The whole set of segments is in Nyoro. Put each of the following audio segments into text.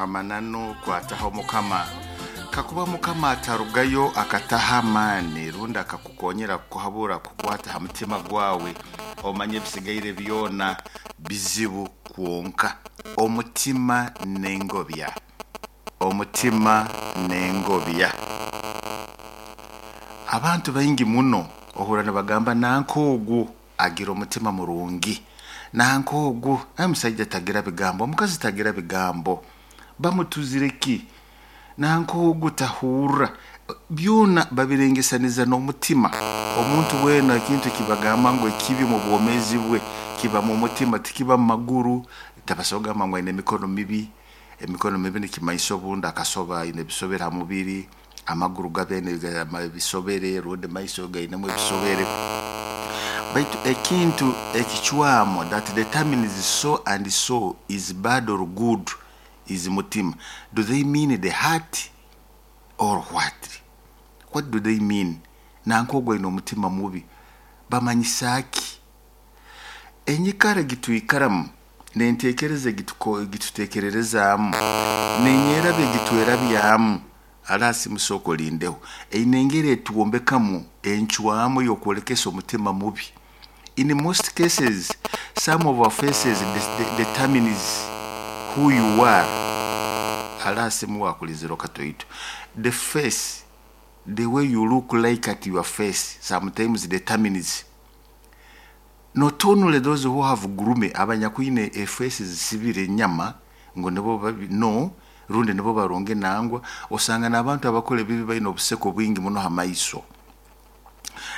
Amananu kwataho Mukama. Kakuba Mukama atarugayo akataha amaani rundi akakukonyera kukuhabura kukwata ha mutima gwawe, omanye ebisigaire byona bizibu kwonka. Omutima n'engobya, omutima n'engobya. Abantu baingi muno ohurra nibagamba nanka ogu agira omutima murungi, nanka ogu omusaija tagira bigambo, omukazi tagira bigambo, bamutuzire ki, nanka ogu tahurra. Byona babirengesaniza n'omutima. Omuntu weena ekintu eki bagamba ngu ekibi omu bwomeezi bwe kiba mu mutima, tikiba mu maguru. Tabasobora kugamba ngu aine emikono mibi. Emikono mibi nikimanyisa obundi akasoba aine ebisobere ha mubiri, amaguru gabe aine ebisobere rundi maiso gainemu ebisobere. Baitu ekintu ekicwamu that determines so and so is bad or good is mutima. Do they mean the heart or what? What do they mean? Nanka ogu aine omutima mubi, bamanyisa ki? Enyikara egitwikaramu n'enteekereza egituteekererezaamu n'enyerabya egitwerabyamu, haraasi musooke olindeho, eine engeri etwombekamu encwamu ey'okwolekesa omutima mubi. In most cases, some of our faces determines who you are. Haraasi muwakulizire okatoito. The face, the way you look like at your face sometimes determines not only those who have gurume, abanyakwine efeesi zisibire enyama ngu nibo babi, no, rundi nibo barungi nangwa, osanga n'abantu abakora ebibi baine obuseko bwingi muno ha maiso.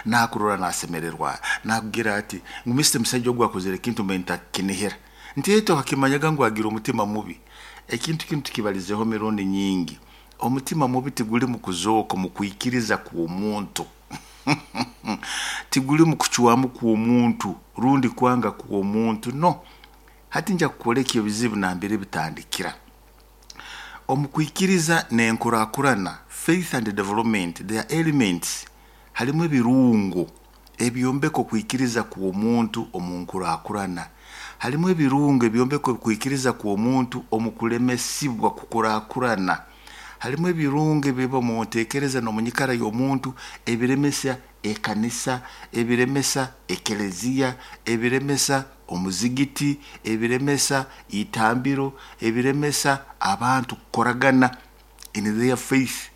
Nakurora nasemererwa, nakugira ati ngu Mr. Musaija ogu akozere ekintu mbe ntakinihira. Nti ete wakimanyaga ngu agira omutima mubi. Ekintu kinu tukibalizeho emirundi nyingi. Omutima mubi tiguli mu kuzooka omu kwikiriza kw'omuntu. Tiguli mu kucwamu kw'omuntu rundi kwanga kw'omuntu, no. Hati nja kukwoleka ebizibu nambere bitandikira. Omu kwikiriza n'enkurakurana, faith and development, they are elements. Harimu ebirungo ebyombeka okwikiriza kw'omuntu omu nkurakurana. Harimu ebirungo ebyombeka okwikiriza kw'omuntu omu kulemesibwa kukurakurana. Harimu ebirungo ebiba omu nteekereza n'omu nyikara y'omuntu ebiremesa ekanisa, ebiremesa ekeleziya, ebiremesa omuzigiti, ebiremesa itambiro, ebiremesa abantu kukoragana in their faith.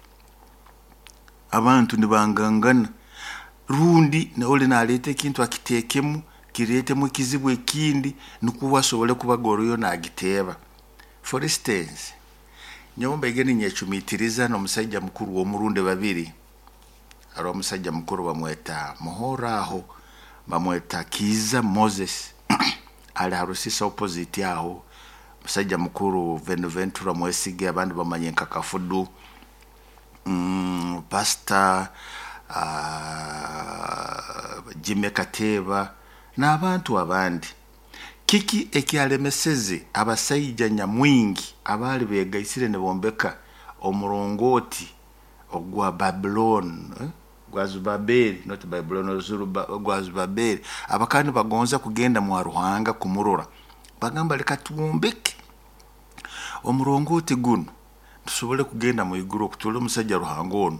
Abantu nibangangana rundi oli naleeta ekintu akiteekemu, kireetemu ekizibu ekindi nukwo asobole kubaga nagiteeba. For instance, nyowe mbaire ninyecumiitiriza n'omusaija mukuru omurundi babiri. Haroho omusaija mukuru bamweta Muhoro aho, bamweta Kiiza Moses, ali ha Rusisa opposite aho. Musaija mukuru Venuventura Mwesige, abandi bamanye nka Kafudu, Pastor Jimmy Kateeba n'abantu abandi. Kiki ekyalemeseze abasaija nyamwingi abaali beegaisire nibombeka omurongooti ogwa Babylon, gwa Zubabeli, not Babylon, gwa Zubabeli, abakaba nibagonza kugenda mwa Ruhanga kumurora. Bagamba leka twombeke omurongooti gunu tusobole kugenda mwiguru okuturora omusaija Ruhanga onu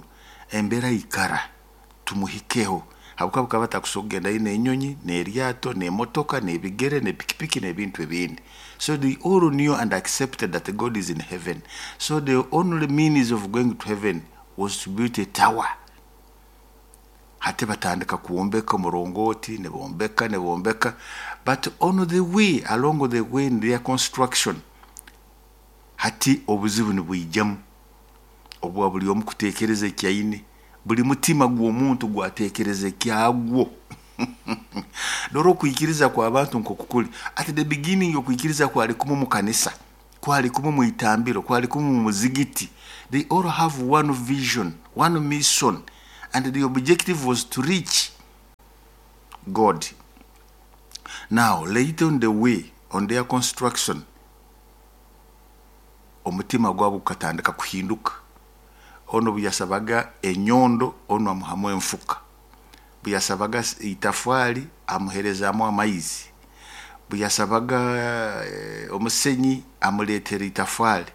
embeera aikara tumuhikeho, habwokuba bakaba batakusobora kugendayo n'enyonyi, n'eryato, n'emotoka, n'ebigere, n'epikipiki n'ebintu ebindi. So they all knew and accepted that God is in heaven. So the only means of going to heaven was to build a tower. Hati batandika kwombeka omurongooti, nibombeka, nibombeka, but on the way, along the way in their construction, hati obuzibu nibwijamu obwa buli omu kuteekereza eki aine, buli mutima gw'omuntu gwateekereza ekyagwo. Dora okwikiriza kw'abantu nk'oku kuli. At the beginning okwikiriza kwali kumu mu kanisa, kwali kumu mu itambiro, kwali kumu mu muzigiti. They all have one vision, one mission, and the objective was to reach God. Now, later on the way, on their construction, omutima gwabo gukatandika kuhinduka. Onu obu yasabaga enyondo, onu amuhamu enfuka. Obu yasabaga itafaali, amuheerezaamu amaizi. Obu yasabaga omusenyi, amuleetera itafaali.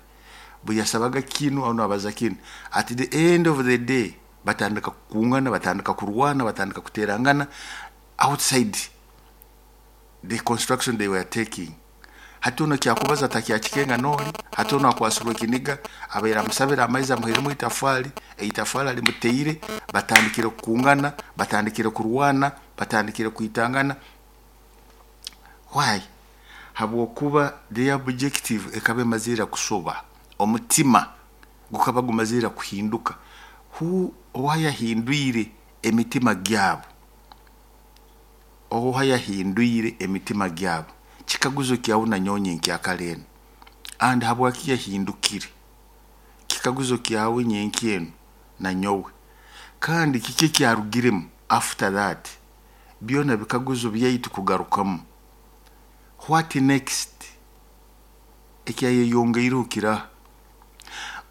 Bwe yasabaga kinu, onu abaza kinu. At the end of the day batandika kukungana, batandika kurwana, batandika kuterangana outside the construction they were taking. Hati ono kyakubaza takyakikenga noli, hati ono akwasirwe ekiniga, abaire amusabira amaizi amuhairemu itafali, eitafali alimuteire, batandikire kukungana, batandikire kurwana, batandikire kwitangana. Why? Habwokuba their objective ekaba emazire kusoba, omutima gukaba gumazire kuhinduka. Who owayahindwire emitima gyabo? Oha yahindwire emitima gyabo? Kikaguzo kyawe nanyonye nkyakara enu. And habwaki yahindukire? Kikaguzo kyawe nyenki enu nanyowe. Kandi kiki ekyarugiremu after that? Byona bikaguzo byaitu kugarukamu. What next? Ekyayeyongeireho kiraha?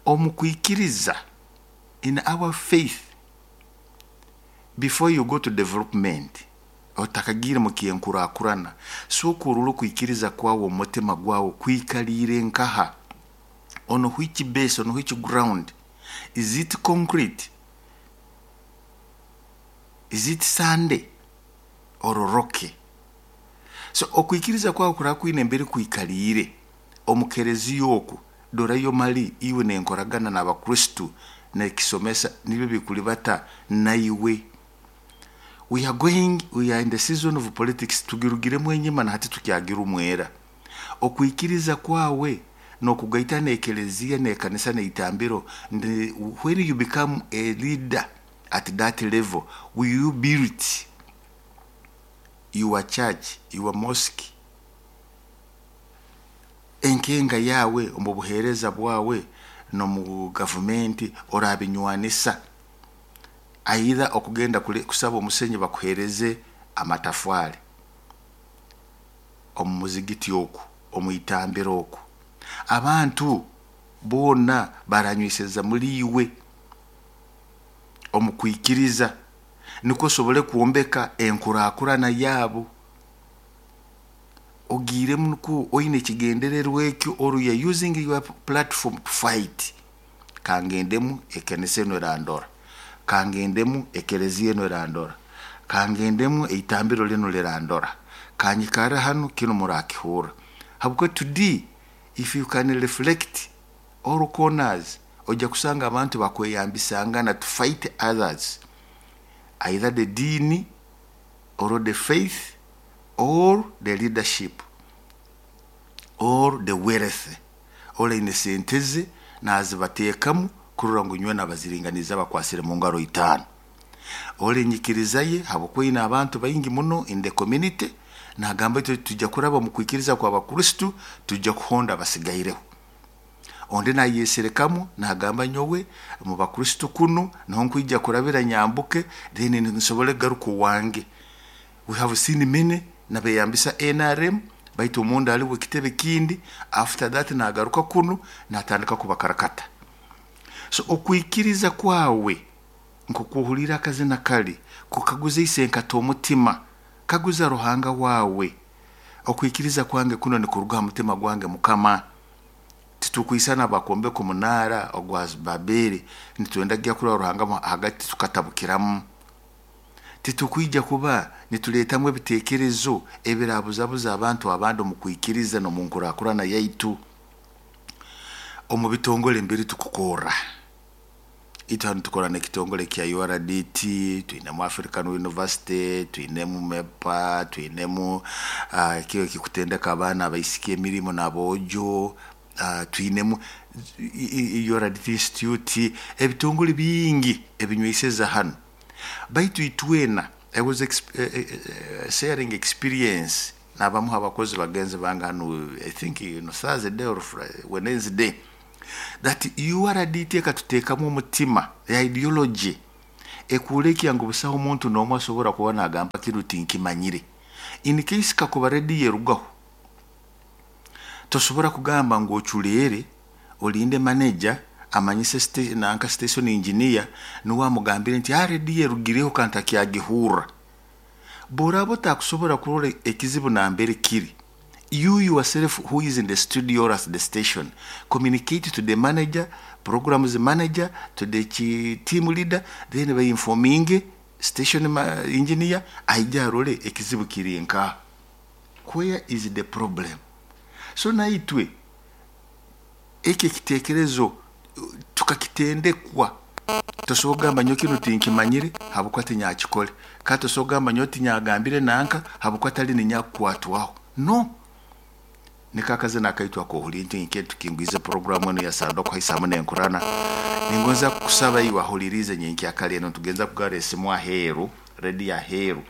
Omu kwikiriza, in our faith, before you go to development, otakagiire mu kyenkurakurana, sooka orole okwikiriza kwawe, omutima gwawe kwikaliire nkaha, on which base, on which ground. Is it concrete? Is it sandy or rocky? So okwikiriza kwawe kuraba kwine embere kwikaliire omu kereziya oku, dorayo mali iwe nenkoragana n'Abakristu nekisomesa nibyo bikulibata naiwe. We are in the season of politics, tugirugiremu enyima na hati tukyagira omwera. Okwikiriza kwawe nokugaita n'ekereziya n'ekanisa n'eitambiro, when you become a leader at that level, will you build your church, your mosque, enkenga yawe omu buheereza bwawe n'omu gavumenti orabinywanisa? Aidha okugenda kusaba omusenyi bakuhereze amatafari omu muzigiti oku, omu itambiro oku, abantu boona baranyweseza muri iwe omu kwikiriza, nikwo osobole kwombeka enkurakurana yaabo. Ogiiremu nikwo oine ekigendererwa ekyo, or you are using your platform to fight. Kangendemu ekanisa enu erandora, kangendemu ekereziya enu erandora, kangendemu eitambiro linu lirandora, kanyikara hanu kinu murakihurra. Habwokuba today if you can reflect all corners, ojja kusanga abantu bakweyambisangana to fight others, either the dini or the faith or the leadership or the wealth. Olaine sente ze nazibateekamu kurora ngu nyowe nabaziringaniza bakwasire mu ngaro itaano. Ole enyikiriza ye, habwokuba ine abantu baingi muno in the community, nagamba itwe tujja kuraba omu kwikiriza kw'Abakristu, tujja kuhonda abasigaireho. Ondi nayeserekamu nagamba nyowe mu Bakristu kunu niho nkwija kurabira nyambuke, then nsobole kugaruka owange. We have seen many nabeyambisa NRM, baitu omunda haliwo ekitebe kindi. After that nagaruka kunu natandika kubakarakata. So okwikiriza kwawe nkokuhulira akazina kali kukaguza isenkata omutima, kaguza Ruhanga wawe, okwikiriza kwange kuno nikuruga ha mutima gwange Mukama. Titukwisana bakombeka omunaara ogwa Baberi, nitwenda kugya kurora Ruhanga hagati tukatabukiramu. Titukwija kuba nituleetamu ebiteekerezo ebirabuzabuza abantu abandi omu kwikiriza n'omu nkurakurana yaitu. Omu bitongole mbiri tukukorra, itwe hanu tukora n'ekitongole kya URDT, twinemu African University, twinemu MEPA, twinemu kio ekikutendeka abaana abaisiki emirimo n'aboojo, twinemu URDT Institute, ebitongole bingi ebinyweiseza hanu. Baitu itwena, I was sharing experience n'abamu abakozi bagenzi bange hanu, I think Thursday or Wednesday, that URDT ekatuteekamu omutima, the ideology ekurekya ngu busaho omuntu n'omu asobora kuba nagamba kinu tinkimanyire. In case kakuba rediyo erugaho, tosobora kugamba ngu oculeere olinde manager amanyise nanka station engineer nuwe amugambire nti rediyo erugireho kandi takyagihurra. Bw'oraaba otakusobora kurora ekizibu nambere kiri, You yourself who is in the studio or at the station, communicate to the manager, programs manager, to the team leader, then bainforminge station engineer aije arole ekizibu kiri nka. Where is the problem? So naitwe eki ekitekerezo tukakitendekwa. Tosobola kugamba nyowe kinu tinkimanyire habwokuba tinyakikole, kandi tosobola kugamba nyowe tinyagambire nanka habwokuba tali ninyakukwatwaho. No, niko akazina akaitu akohuli nti nke tukingwize programu eno ya Sanda okuhaisa n'enkurana. Ningonza kukusaba iwe ahulirize nyenkyakare eno, tugenza kugara esimu aheeru, rediyo aheeru.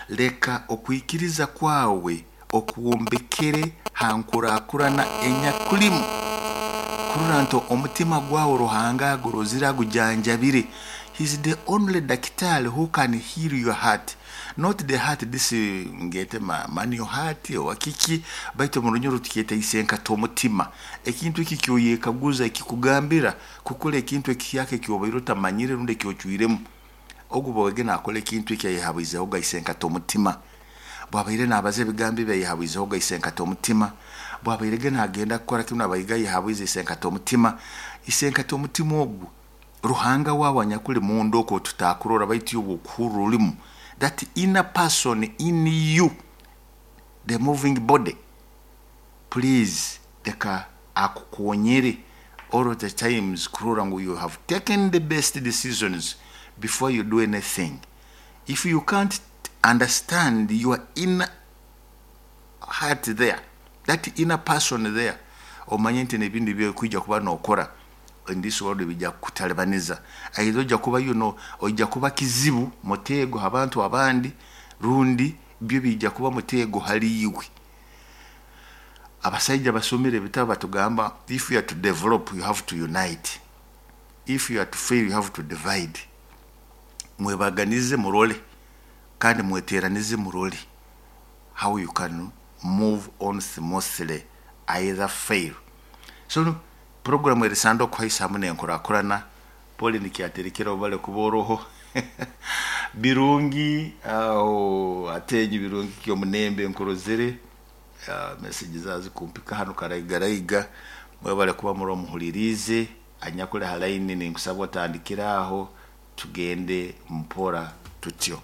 Leka okwikiriza kwawe okuwombekere ha nkurakurana enyakulimu, kurora nti omutima gwawe Ruhanga agurozire agujanjabire. He's the only daktari who can heal your heart, not the heart this ngete manual heart oba kiki, baitu mu Runyoro tukyeta isenkata omutima. Ekintu eki kyoyekaguza ekikugambira kukora ekintu ekihyaka ekyobaire otamanyire rundi ekyocwiremu. Ogu bwege nakora ekintu eki ayehabwizeho isenkata omutima, bwabaire nabaza ebigambo ebi ayehabwizeho isenkata omutima, bwabaire nagenda kukora kinu abaire ayehabwize isenkata omutima. Isenkata omutima ogu Ruhanga wawe anyakuli munda okwo tutakurora, baitu iwe okuhurra olimu, that inner person in you, the moving body, please leka akukonyere all the times kurora ngu you have taken the best decisions before you do anything. If you can't understand your inner heart there, that inner person there, omanye nti nebindi byokwija kuba nokora in this world bijja kukutalibaniza. Either ojja kuba ojja kuba kizibu mutego abantu abandi, rundi byo bijja kuba mutego hali iwe. Abasaija basomere ebitabo batugamba, if you are to develop you have to unite, if you are to fail you have to divide. Mwebaganize murole kandi mweteranize murole how you can move on smoothly, either fail. So programu erisanda okuhaisa hamu n'enkurakurana. Poli nikyaterekera obale kuba oroho birungi aho atenyi birungi kyomunembe nkurozere message zazi kumpika hano karaigaraiga. Mwebale kuba muri omuhulirize anyakuli ha line, ninkusaba otandikira aho tugende mpora tutyo.